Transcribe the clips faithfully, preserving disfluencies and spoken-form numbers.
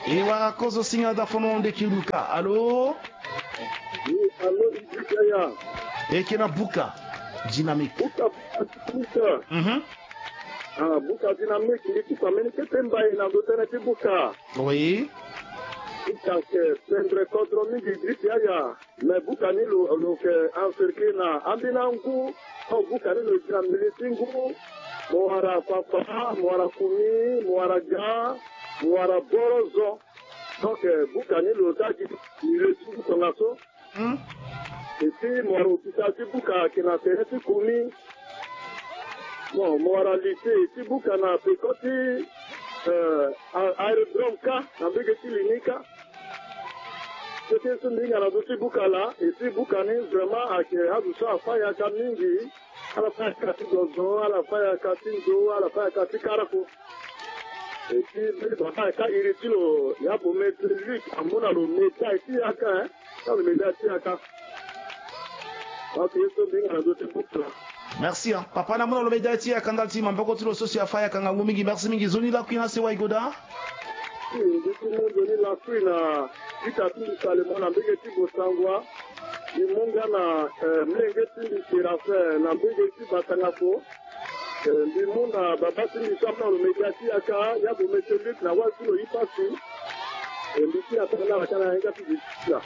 E wara kozo singa da fono ndeki luka. Alo? Wi, alo, Idrissa ya. E ke na buka dynamique. Buka, buka, buka. Mhm. Ah, buka dynamique, ni ti famille kete mbai na ndo tënë ti buka. Oui. Buka ke pendre kodro mingi Idrissa ya. Me buka ni lo, lo ke encercler na ambeni angu. Ho buka ni lo gi na mbele ti ngu. Mo wara fafa, mo wara kumi, mo wara ga, mo wara borozo. Donc, eh, buka ni lo ta gi milieu ti ngu tongaso. Hmm. Et puis, mo wara hôpital ti buka ayeke na tere ti kumi. Bon, mo wara lycée ti buka na peko ti, eh, a-, aérodrome kâ, na mbege ti Lini kâ. Kete so mbi hinga na ndö ti buka laa, et puis buka ni vraiment ayeke azo so afâ yaka mingi. Ala fâ yaka ti zozo, ala fâ yaka ti ndo, ala fâ yaka ti karako. Et puis mbeni baba ayeke iri ti lo, ya Bometo Luc, amu na lo médaille ti yaka, hein. Tanga lo médaille ti yaka. Ok, ye so mbi hinga na ndö ti buka laa. Merci, hein. Papa ni amu na lo médaille ti yaka ndali ti maboko ti lo so si afâ yaka ngangu mingi. Merci mingi. Nzoni lakui na sewa e goda. Si, mbi ti mu nzoni lakui na ita ti mbi Salomon na mbege ti Bosangwa. Mbi mu nga na, eh, mlenge ti mbi Séraphin na mbege ti Batangafo. Eh, mbi mu na baba ti mbi so amu na lo médaille ti yaka, ya Bometo Luc na wali ti lo Ipasi. Eh, mbi ti atanga na kâ na yanga ti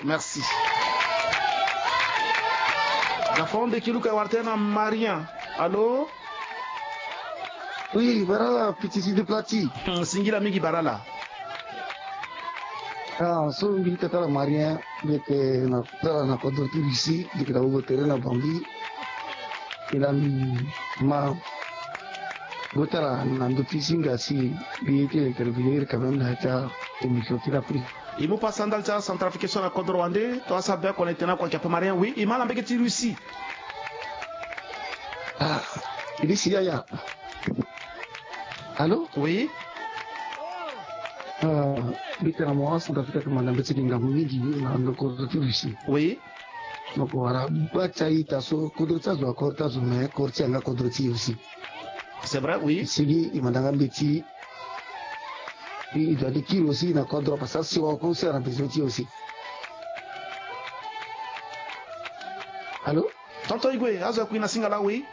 Merci. Ga fo ndeki luka e wara tënë na Marien. Alo? Oui, barala, petit sidi plati. Hmm, singila mingi barala. Ah, so mbi tata la Marien, mbi yeke na tara na kodro ti Russie, mbi yeke na wogo tere na Bangui. E laa mbi ma go tara na ndö ti singa si mbi ye ti intervenir quand même na ya ti aémission ti l'Afrique. E mu pasa ndali ti acentrafricain so na kodro wande, to asara be akua na e tene akua, Cap Marien, oui, e ma na mbege ti Russie. Ah, Russie yaya. Allô? Oui. Ah, mbi tene na mo acentrafricain ayeke ma na mbeti gi ngangu mingi na ndö kodro ti Russie. Oui. Donc wala gba ti a-ita so kodro ti azo akoro ti azo, mais koro ti yanga kodro ti e aussi. C'est vrai, oui. E sigi e manda nga mbeti. E doit ti kiri aussi na kodro parce que asewa oko aussi ana besoin ti e aussi. Allô? Tonton Igwe, azo akui na singa laa, oui.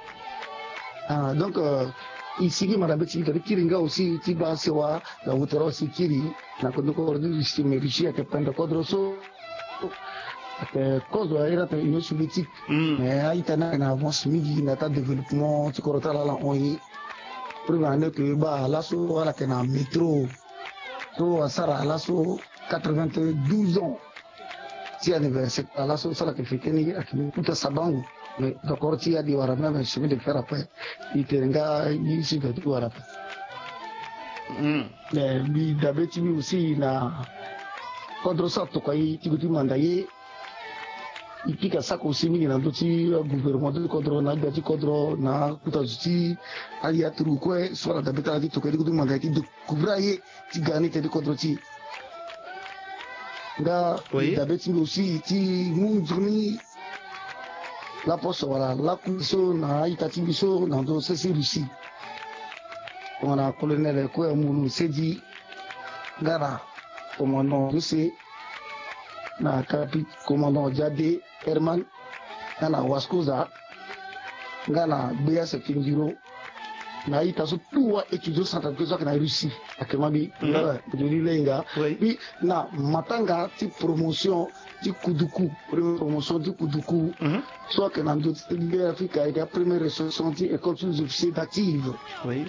Ah, donc, euh, e sigi manda mbeti e doit ti kiri nga aussi ti baa asewa na wutara aussi kiri na kodro ti Russie, mais Russie ayeke pendre kodro so. Ayeke kozo aye na tene Union Soviétique. Hmm. Mais a-ita ni ayeke na avance mingi na ya ti adéveloppement ti kodro ti ala ala hon ye. Preuve en est que baa laso ala yeke na métro so asara laso quatre-vingt-douze ans ti anniversaire ti ala laso so ala yeke fêter ni, ayeke mu kuta sabangu. Mais d'accord ti e adi wara même chemin de fer après. E tene nga ye so e doit ti wara ape. Hmm. Mais mbi dabe ti mbi aussi na kodro so atokua e ti gue ti manda ye. E pika sako aussi mingi na ndö ti agouvernement ti kodro na agbia ti kodro na akuta zo ti aya turugu kue so ala dabe ti ala ti tokua ye ti gue ti manda ye ti découvrir aye ti ga ni tënë ti kodro ti e. Nga, oui, dabe ti mbi aussi ti mu nzoni laposo wala lakui so na a-ita ti mbi so na ndö sese Russie. Tongana colonel Koya Mulu Sedi, nga na commandant José, na capi-, commandant Diadé Herman, nga na Wascosa, nga na Gbeyas Fingiro, na a-ita so tout wa étudiant centrafricain so ayeke na Russie, ayeke ma mbi. Mhm. Nga, Joli Lenga. Oui. Mbi na matanga ti promotion ti Kuduku, première promotion ti Kuduku. Mhm. So ayeke na ndö ti Be Afrika, ayeke apremière ressortissant ti école sous-officier d'active. Oui.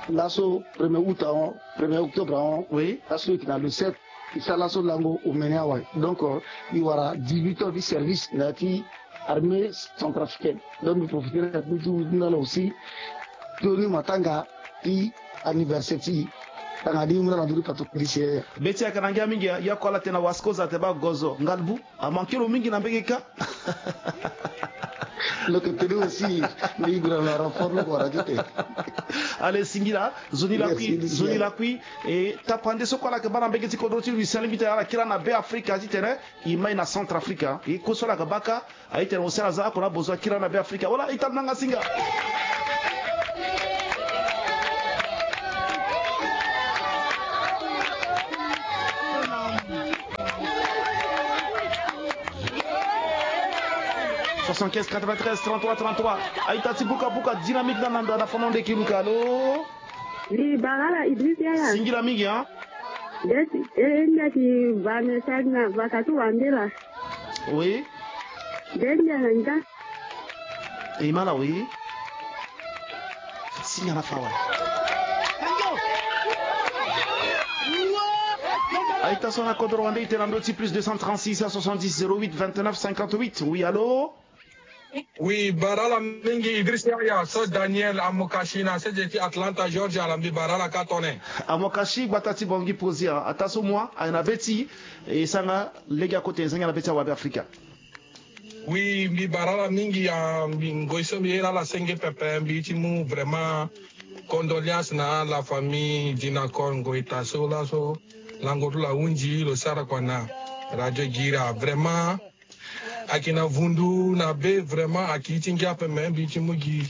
Laso premier août ahon, premier octobre ahon. Oui. Laso e yeke na le sept. E sara laso lango omene awe. Donc, euh, e wara dix-huit ans ti service na ya ti armée centrafricaine. Donc mbi profiter na ya ti mbi ti wu ti nda na aussi. Toni matanga ti anniversaire ti e. Tanga ni mu na na ndö ti pato policier. Be ti ayeke na ngia mingi, ya ko ala tene na Wascosa te baa gozo ngalbu. Amanke lo mingi na mbege kâ. Lo yeke tene aussi, mbi gue na renfort lo wara ti te. Allez, singila, nzoni lakui, merci, nzoni lakui. E tapande so kue ala yeke baa na mbege ti kodro ti Russie, alingbi ti tene ala kiri na Be Afrika ti tene e mai na Centrafrique. E kue so ala yeke baa kâ, a-ita ni aussi ala za oko na besoin akiri na Be Afrika. Wala ita ni nanga singa. Soixante-quinze quatre-vingt-treize trente-trois trente-trois. A-ita ti buka buka dynamique na nando ana fono nde ki luka. Alo. Ni Barala Idriss Yaya. Singila mingi, hein? Ndeti, eh, ndeti va message na va katu wandela. Oui. Ndeti na nda. E mala, oui. Singa na fawa. A-ita so na kodro wande ite na ndö ti plus deux cent trente-six cent soixante-dix zéro huit vingt-neuf cinquante-huit. Oui, allô? Oui, Barala mingi Idriss Yaya, so Daniel Amokashi na sese ti Atlanta, Georgia, ala mbi Barala ka tone. Amokashi gbata ti Bangui Pozia, ata so moi, ayena beti, e sanga, lege akote, e sanga na beti awabe Afrika. Oui, mbi Barala mingi, a, mbi ngoi so mbi ye na ala senge pepe, mbi ti mu vraiment condoléances na la famille Dinacor Ngoita so laso lango ti lo ahunzi, lo sara kua na Radio Guira. Vraiment, ayeke na vundu na be, vraiment, ayeke ti ngia ape, me mbi ti mu gi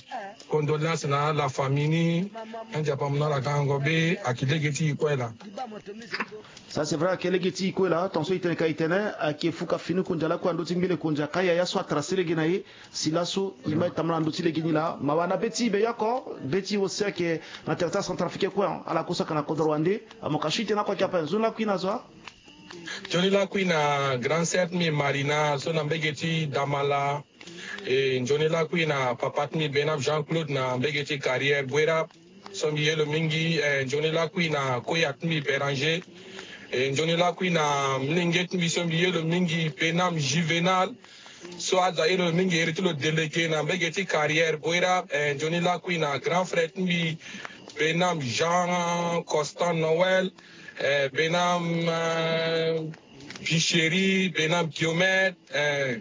condoléances na la famille ni. Anzapa mu na ala kango be, ayeke lege ti e kue laa. Ça, c'est vrai, ayeke lege ti e kue laa. Tongaso e tene ka e tene, ayeke fuka fini konzi lakue na ndö ti ngbele konzi, aka yaya so atracé lege na e. Si laso e ma e tambula na ndö ti lege ni laa. Mawa na be ti e be yoko, be ti e aussi ayeke na tere ti acentrafricain kue, ala kue so ayeke na kodro wande. Amokashi, e tene lakue ayeke ape, nzoni lakue na zo. Nzoni lakui na grand sœur ti mbi Marina so na mbege ti Damala. E nzoni lakui na papa ti mbi Benam Jean Claude na mbege ti Carrière Bouérab so mbi ye lo mingi. E nzoni lakui na koya ti mbi Béranger. E nzoni lakui na mlenge ti mbi so mbi ye lo mingi Benam Juvenal. So aza ye lo mingi iri ti lo délégué na mbege ti Carrière Bouérab. E nzoni lakui na grand frère ti mbi Benam Jean Constant Noël. Eh, Benam, eh, Bicheri, Benam Guillaumet, eh,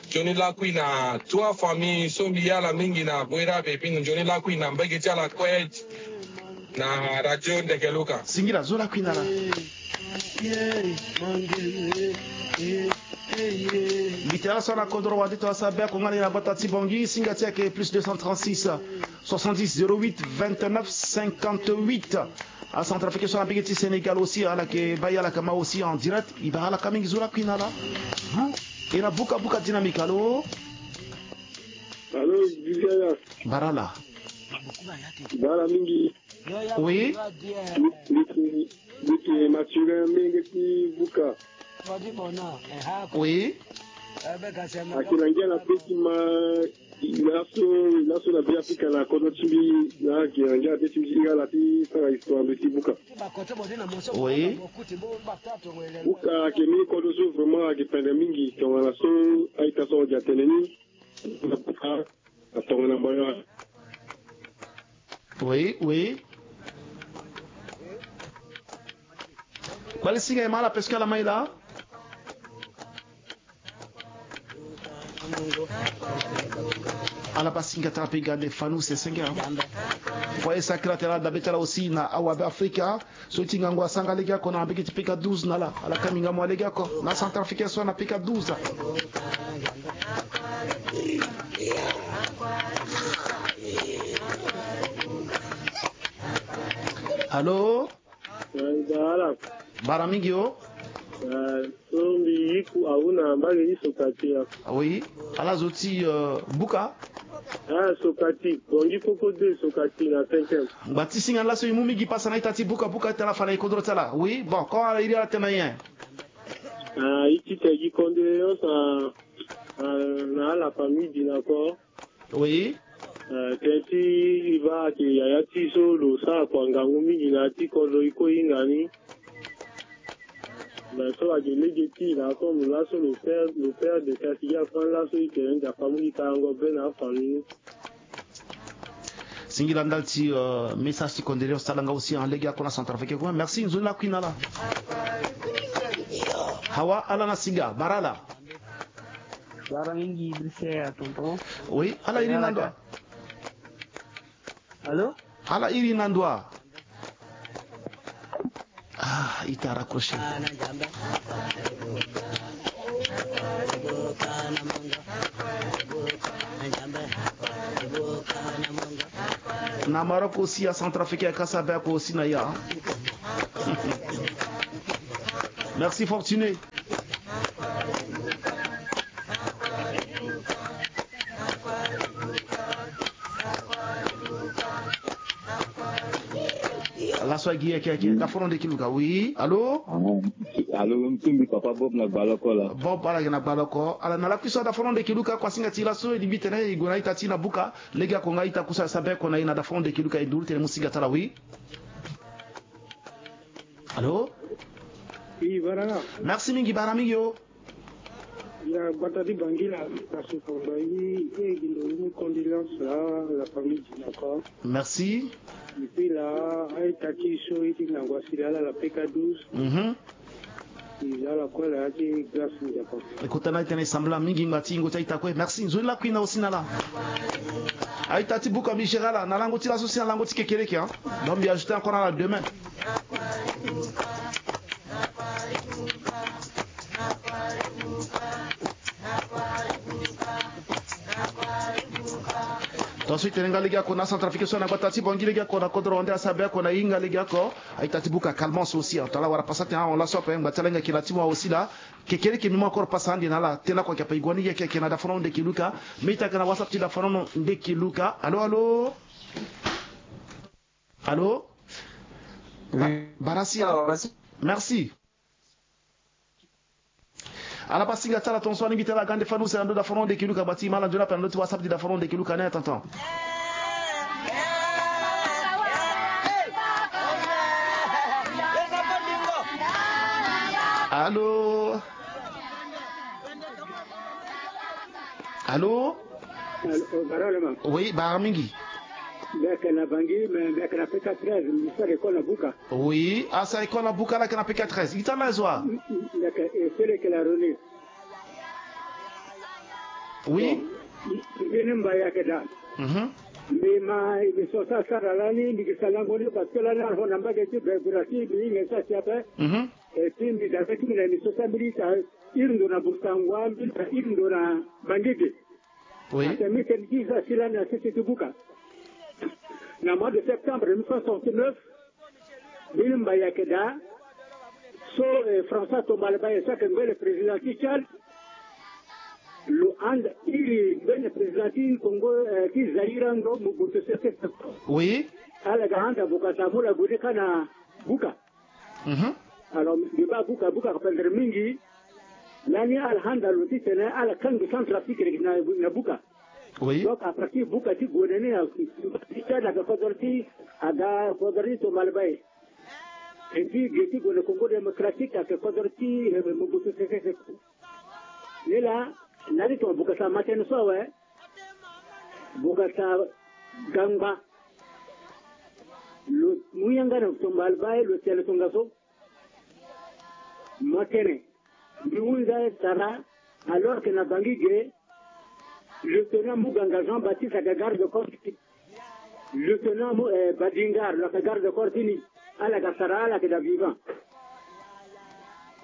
nzoni lakui na trois familles so mbi ye ala mingi na Bouérab, et puis nzoni lakui na mbege ti ala kue na Radio Ndegeluka. Singila, zo lakui na ala. Mbi tene ala so na kodro wande ti ala so abeko nga ni na gbata ti Bangui, singa ti ayeke plus deux cent trente-six soixante-dix zéro huit vingt-neuf cinquante-huit. Acentrafricain so na mbege ti Sénégal aussi, ala yeke baa e, ala yeke ma aussi en direct. E baa ala ka mingi, zo lakui na ala. Bu, e na buka buka dynamique, allô? Allô, Viviana. Barala. Barala mingi. Oui. Mbi yeke, mbi yeke Mathurin, mbenge ti buka. Oui. Ayeke na ngia na be ti ma. Laso, laso na be Afrika na kodro ti mbi, na ayeke na ngia na be ti mbi ti ala ti sara histoire na be ti buka. Oui. Buka ayeke mbeni kodro so vraiment ayeke pendere mingi, tongana so a-ita so ahon gi atene ni. Atongana mboyo. Oui, oui. Kpali singa e ma ala parce que ala ma e laa. Ala baa singa tara mpe ga nde fanu sese nga. Foyer sacré atene ala dabe ti ala aussi na awabe Afrika. So ti ngangu asanga lege oko na mbege ti P K douze na ala, ala ka mingi amu lege oko na Centrafricain so na P K douze. Allô? Eh, Bara. Bara mingi o. Eh, so mbi yiku awu na mbage ti Sokati ya. Oui, ala zo ti, euh, buka. Ah, Sokati, Bongi Koko deux, Sokati na cinquième. Ngba ti singa laso e mu mingi pasa na ita ti buka buka ti ala fa na e kodro ti ala. Oui, bon, ko ala iri ala tene na nyen? Ah, e ti tene gi condoléances na, na, na ala famille Dinacor. Oui. Eh, tënë ti e baa ayeke yaya ti e so lo sara kua ngangu mingi na ya ti kodro e kue e hinga ni. Mais so ayeke lege ti e laa comme laso lo père, lo père de quartier gi afa ni laso e tene Nzapa amu gi karango be na afamille ni. Singila ndali ti, euh, message ti condoléance ti ala nga aussi en lege oko na Centrafrique kue. Merci, nzoni lakui na ala. Awa, ala na singa, Bara ala. Bara mingi, Brice, ya tonton. Oui, ala iri na ndo wa? Allô? Ala iri na ndo wa? Ah, ita raccroché. Na Maroc aussi, ya Centrafrique, ya Kasabe ako aussi na ya. Merci, Fortuné. So agi yeke yeke, da fono ndeki luka. Oui, allô? Allô, mtumbi papa Bob na gbaloko la. Bob ala yeke na gbaloko. Ala na lakui so, da fono ndeki luka, kua singa ti laso, e lingbi tene e gue na ita ti na buka. Lege ako nga ita kusa sa be ko na e na da fono ndeki luka, e nduru tene mu singa ti ala, oui. Allô? Oui, baraka. Merci mingi, bara mingi yo. Ya, gbata ti Bangui la, na sukonda yi, e gi ndo yi mu condoléances la, la famille Dinaka. Merci. Et puis la, aye ta ti so yi ti nangua sila la, la P K douze. Mhm. Eza la kue la ya ti Grace Nzapa. E kota na e tene e sambela mingi ngba ti yingo ti aita kue. Merci. Nzoni lakui na osi na ala. Aita ti buka, mbi géré ala na lango ti laso si na lango ti kekereke, hein. Donc mbi ajouté encore na ala demain. Tongaso e tene nga lege ako na Centrafrique so na gbata ti Bangui, lege ako na kodro wande asabe ako na hinga lege ako. Aita ti buka Calmance aussi, hein. Tongana ala wara pasa tene ahon laso ape ngba ti ala hinga kena ti mo aussi la. Kekereke mbi mu encore pasa ande na ala tene ako ayeke ape, e gue ni yeke yeke na da fono ndeki luka. Mbi ita yeke na WhatsApp ti da fono ndeki luka. Allô, allô? Allô? Ba-, oui. Barasi. Merci. Ala bâ singa ti ala tongaso, alingbi ti ala ga nde fani use na ndö da fono ndeki luka, bati ma ala nzoni ape na ndö ti WhatsApp ti da fono ndeki luka ni, tonton. Allô? Allô? Allô, bara lama. Oui, bara mingi. Mbi yeke na Bangui, mais mbi yeke na P K treize, mbi sara école na buka. Oui, asara école na buka, ala yeke na P K treize. Ita na zo wa? Mbi yeke, e sele yeke la René. Oui. Bon, mbi ni mba yeke daa. Mhm. Mbi ma, mbi so sa sara lani, mbi gi sa lango ni, parce que lani ala hon na mbage ti Be-, Berati, mbi hinga sa si ape. Mhm. Et puis mbi da be ti mbi na émission so mbi li ta iri ndo na Bosangwa, mbi li ta iri ndo na Bangui ge. Oui. Ate mbi tene ti za si lani na sese ti buka. Na mois de septembre mille neuf cent soixante-neuf, mbi ni mba yeke daa. So, eh, François Tombalbaye so ayeke ngbene président ti Tchad, lo handa iri ngbene président ti Congo, eh, ti Zaïre ando Mobutu Sese Seko. Oui. Ala ga handa Bokassa mu la gue ni kâ na buka. Mhm. Alors, mbi bâ buka, buka ayeke pendere mingi. Lani ala handa lo titene ala kangbi Centrafrique na, na buka. Oui. Donc, à partir buka ti gue ni na, ti Tchad aga kodro ti, aga kodro ti Tombalbaye. Et puis, ge ti gue na Congo Démocratique ayeke kodro ti, eh, Mobutu Sese Seko. Ni laa, na li tongana Bokassa ma tënë so awe. Bokassa ga ngba. Lo mu yanga na Tombalbaye, lo tene tongaso. Mo tene. Mbi hunza e sara, alors que na Bangui ge, lieutenant Muganga Jean-Baptiste aga garde corps ti, lieutenant Mu-, eh, Badingar, lo ayeke garde corps ti ni, ala ga sara, ala yeke daa vivant.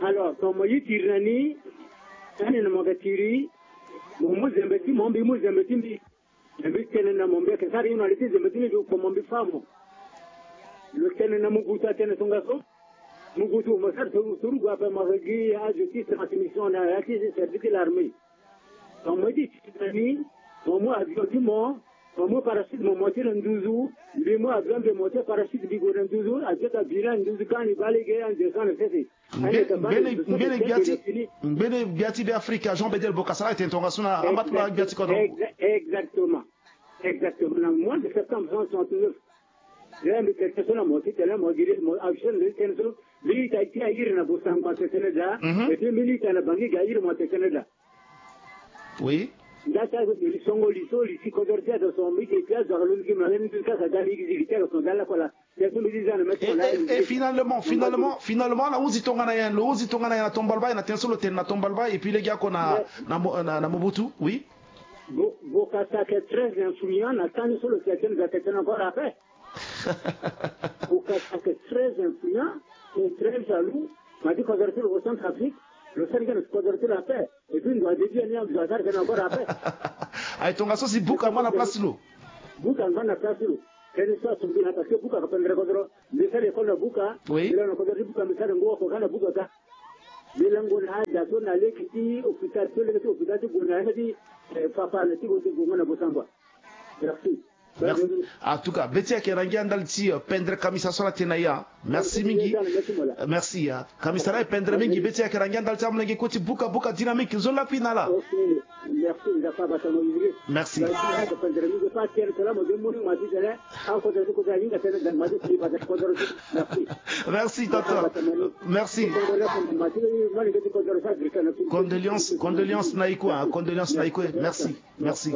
Alors, tongana mo ye tiri na ni, ani na mo ga tiri, mo mu zembe ti mo, mbi mu zembe ti mbi. Mbi tene na mo, mbi yeke sara hino na li ti zembe ti mbi, mbi kpo mo, mbi fâ mo. Lo tene na Mobutu atene tongaso. Mobutu mo sara turu, turu gue ape, mo gi azo ti transmission na ya ti service ti l'armée. Donc mo ye ti tene na ni, mo mu avion ti mo, mo mu parachute mo, mo ti na nduzu, mbi mu avion mbi mo ti parachute mbi gue na nduzu, avion ti abi ni na nduzu kâ ni bâ lege, ande so na sese. Ngbene, ngbene gbia ti, ngbene gbia ti Be Afrika, Jean Bedel Bokassa, ala tene tongaso na amba ti gbia ti kodro. Exa-, exactement. Exactement. Na mois de septembre cent soixante-neuf. Là, mbi tene so na mo ti tene mo gi mo action, mbi tene so, mbi ita ti airi na Bosangwa tene daa. Mhm. Et puis mbi ita na Bangui ga airi mo tene daa. Oui. Nda ti azo mbi songo li so, li ti kodro ti azo so, mbi ti azo alondo gi ma, mbi kasa ga li gi li ti azo so, ga la kola. Et, et, et finalement, finalement, finalement, na huzi tongana nyen, lo huzi tongana nyen na Tombalbaye, na tënë so lo tene na Tombalbaye, et puis lege oko na, na Mo-, na, na Mobutu, oui. Bo-, Bokassa ayeke très influent na tënë so lo tene, lo tene encore après. Bokassa ayeke très influent, et très jaloux, ma ti kodro ti lo au Centrafrique, lo sara gi na kodro ti lo après. Et puis ndo adedi ani, ndo asara gi na encore après. Aye, tongaso si buka angba na place ti lo. Buka angba na place ti lo. Tënë so aso mbi na, parce que buka ayeke pendere kodro. Mbi sara école na buka. Oui. Mbi lango na kodro ti buka, mbi sara ngu oko kâ na buka kâ. Mbi lango na ada so na lege ti hôpital, so lege ti hôpital ti gue na yanga ti, eh, Fafana ti gue, ti gue na Bosangwa. Merci. Merci. En tout cas be ti ayeke na ngia ndali ti pendre kamisa so ala tene na ya. Merci mingi. Merci ya kamisa la e pendre mingi be ti ayeke na ngia ndali ti amolenge koti buka buka dynamique zo lakui na ala. Merci. Merci tata. Merci. Condoléances condoléances na ikue condoléances na ikue merci. Merci.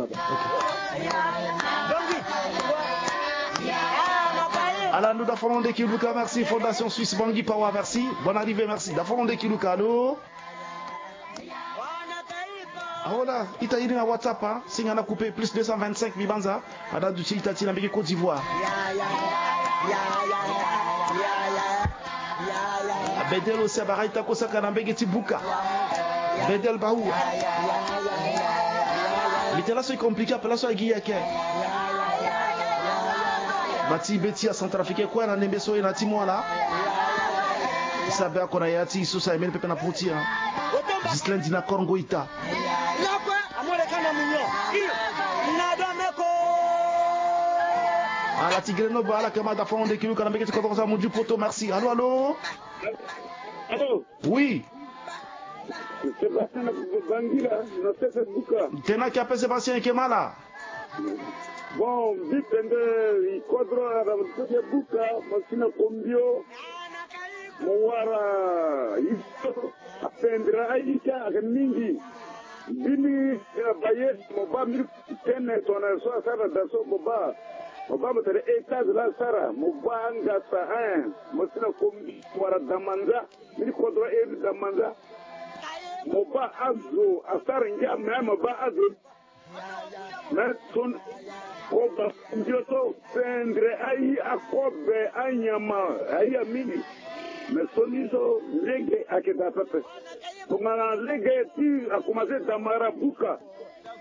Ala ndu dafono nde kiluka merci fondation suisse bangi pawa merci. Bonne arrivée merci dafono nde kiluka alo. Aola ita iri na whatsapp a singa na coupe plus deux cent vingt-cinq mibanza. Ada duti ita ti na mbege côte d'ivoire. Bedel aussi abara ita kosaka na mbege ti buka. Bedel bahu. Mite laso e compliqué ape laso agi yeke. Bati be ti ya centrafricain kue na nembe so e na ti moala. Isa be ako na ya ti isosa emeni pepe na poti ya. Gislin dina korngo ita. Ala ti grenoble ala kama dafa onde kiluka na mbege ti kodoro sa muju poto merci alo alo. Oui. Sébastien na bangila na sese buka. Tena kia pe sébastien eke mala. Bon bi pende ikodro ara sese buka masina kombio. Mo wara iso apendra aika ake mingi. Bini baye mo ba miri tene tona so asara da so mo ba. Mo ba mo tene etage la asara mo ba anga sa hein mo sina kombio wara damanza. Miri kodro eri damanza. Mo ba azo asara ngia me mo ba azo. Mais son koba mbio so pendre ayi akobe anyama ayi amini. Mais son ni so lege ake da pepe. Tongana lege ti akomase damara buka.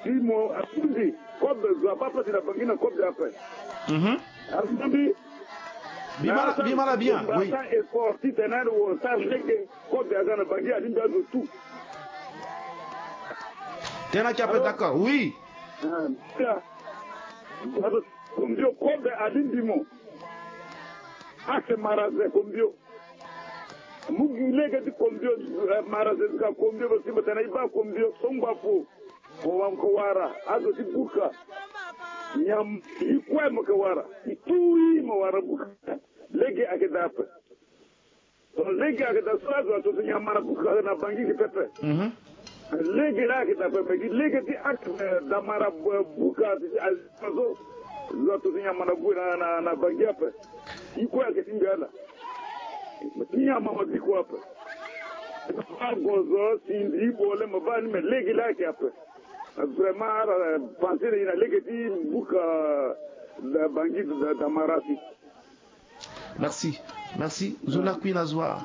Ti mo atundi kobe zo aba pasi na bangi na kobe ape. Mhm. Atundi. Bimala bimala bien oui. Asa effort ti tene wo sa lege. Kobe aza na bangi alingbi azo tout. Tena kia pe d'accord oui. Kombio kobe alingbi mo. Ake maraze kombio. Mugi lege ti kombio maraze zika kombio bosimba tena iba kombio songba fo. Mo wara azo ti buka. Nyam ikue mo ke wara. Itui mo wara buka. Lege ake dape. Lege ake da so azo ato ti nyama na buka na bangi gi pepe. Lege la ake da pepe gi lege ti ake da mara buka ti azo. Zo ato ti nyama na bu na na bangi ape. Iko ake ti mbi ala. Ti nyama ma biko ape. Agozo sindi bole ma ba ni me lege la ake ape. Vraiment ala pensé na lege ti buka da bangi da mara si. Merci. Merci zo lakui na zo a.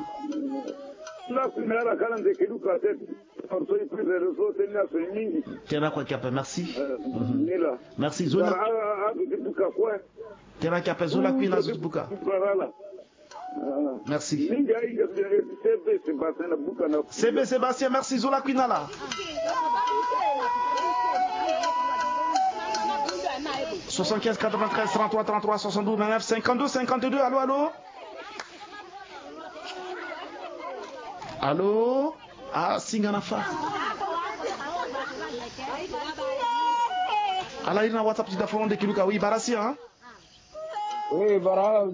Lakui na ala kala nze keduka te. Tena kua kiape merci. Merci zo lakui. Tena kiape zo lakui na zo ti buka. Merci. Sebe sébastien merci zo lakui na ala. Soixante-quinze quatre-vingt-treize trente-trois trente-trois soixante-douze vingt-neuf cinquante-deux cinquante-deux allo allo. Allo. Ah singa na fa. Ala iri na whatsapp ti dafono nde kiluka oui bara si hein. Oui bara.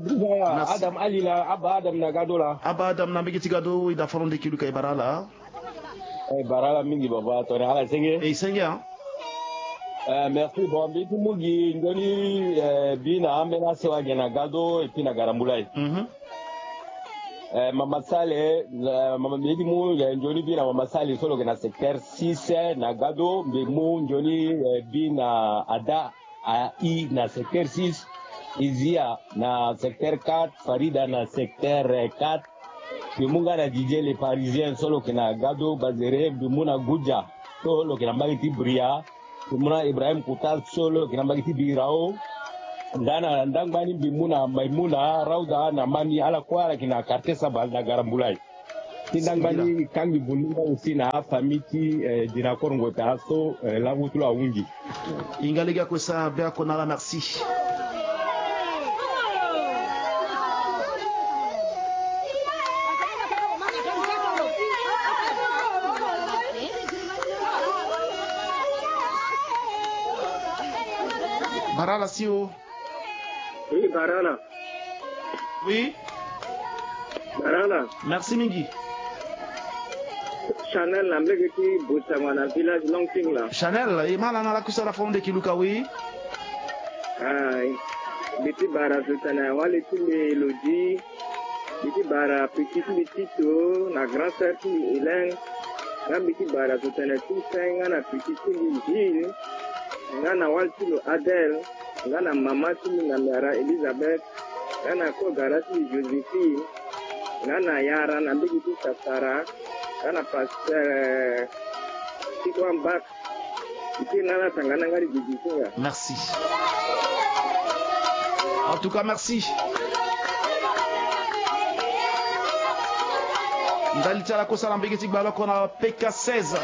Adam ali la aba adam na gado la aba adam na mbege ti gado oui dafono nde kiluka e bara ala. Eh, bara ala mingi baba tone ala senge. Eh, senge hein. Eh, merci bon mbi ti mu gi nzoni eh, bi na ambeni aso age na gado et puis na garambula ye. Mhm. Eh, mama sale eh, mama mbi ti mu eh, nzoni bi na mama sale so lo yeke na secteur six eh, na gado mbi mu nzoni eh, bi na ada. Ai na secteur six, Izia na secteur quatre, Farida na secteur quatre. Mbi mu nga na Didier le parisien so lo yeke na gado bazere mbi mu na Guja so lo yeke na mbage ti Bria. Mbi mu na Ibrahim Kouta so lo yeke na mbage ti Birao. Nda na ndangbani mbi mu na Maimouna Raouda na Mani ala kue ala yeke na quartier Sabal na Garambulay. Ti ndangbani kangbi bundu nga aussi na afamille ti eh, dina korongo ta so eh, langu ti lo ahungi. Hinga lege akue sa be ako na ala merci. Barala si o. Oui, barala. Oui. Barala. Merci mingi. Chanel na mbege ti Bosangwa na village Longting la. Chanel, e ma lana la kusala fo nde ki luka, oui. Ah, mbi ti bara zo tene wali ti mbi Elodie. Mbi ti bara petit ti mbi Tito na grand sœur ti mbi Hélène. Nga mbi ti bara zo tene Toussaint nga na petit ti mbi Gilles. Nga na wali ti lo Adèle. Nga na mama ti mbi na Mara Elisabeth. Nga na ko gara ti mbi Joséphine. Nga na yara na mbege ti Sasara. Nga na pasteur ti ko ambak. Ike na ala tanga na nga di gigi ti nga. Merci. En tout cas, merci. Ndali ti ala kosa na mbege ti gbaloko na P K seize.